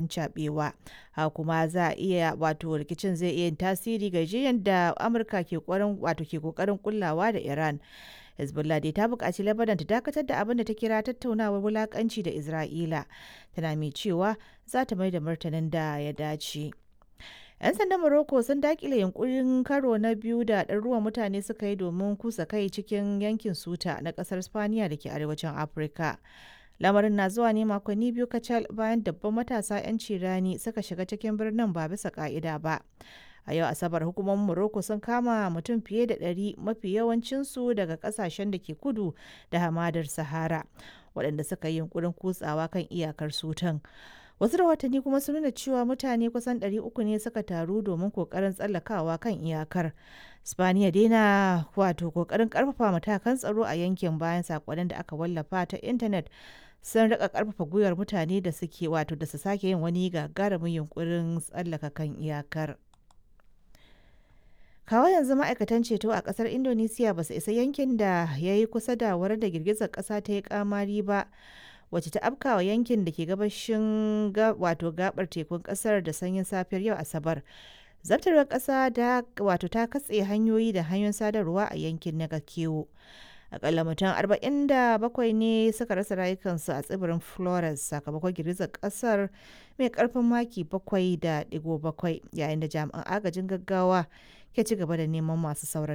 rincaɓewa. Haka kuma za a iya wato rikicin zai iya tasiri ga yarjejeniyar da Amurka ke wato ke kokarin kullawa da Iran. Hezbollah dai ta buƙaci Lebanon ta dakatar da abin da ta kira tattaunawar wulakanci da Isra'ila, tana mai cewa za ta mai da martanin da ya dace. 'Yan sandan Morocco sun dakile yunkurin karo na biyu da ɗaruruwan mutane suka yi domin kusa kai cikin yankin Suta na ƙasar Spaniya da ke arewacin Afirka. Lamarin na zuwa ne makonni 2 kacal bayan dabban matasa 'yan cirani suka shiga cikin birnin ba bisa ka'ida ba. A yau Asabar hukumomin Morocco sun kama mutum fiye da 100, mafi yawancinsu daga kasashen da ke kudu da hamadar Sahara, waɗanda suka yi yunkurin kutsawa kan iyakar Sutan. Wasu rahotanni kuma sun nuna cewa mutane kusan 300 ne suka taru domin kokarin tsallakawa kan iyakar. Spaniya dai na wato kokarin karfafa matakan tsaro a yankin bayan sakonnin da aka wallafa ta intanet sun rika karfafa gwiwar mutane da suke wato da su sake yin wani gagarumin yunkurin tsallaka kan iyakar. Kawo yanzu ma'aikatan ceto a kasar Indonesia ba su isa yankin da ya yi kusa da wurin da girgizar kasa ta yi kamari ba, wacce ta afkawa yankin da ke gabashin wato gabar tekun kasar da sanyin safiyar yau Asabar. Zabtarwar kasa da wato ta katse hanyoyi da hanyoyin sadarwa a yankin na Kewo. Akalla mutum 47 ne suka rasa rayukansu a tsibirin Flores sakamakon girgizar kasar mai karfin maki 7.7, yayin da jami'an agajin gaggawa ke ci gaba da neman masu sauran.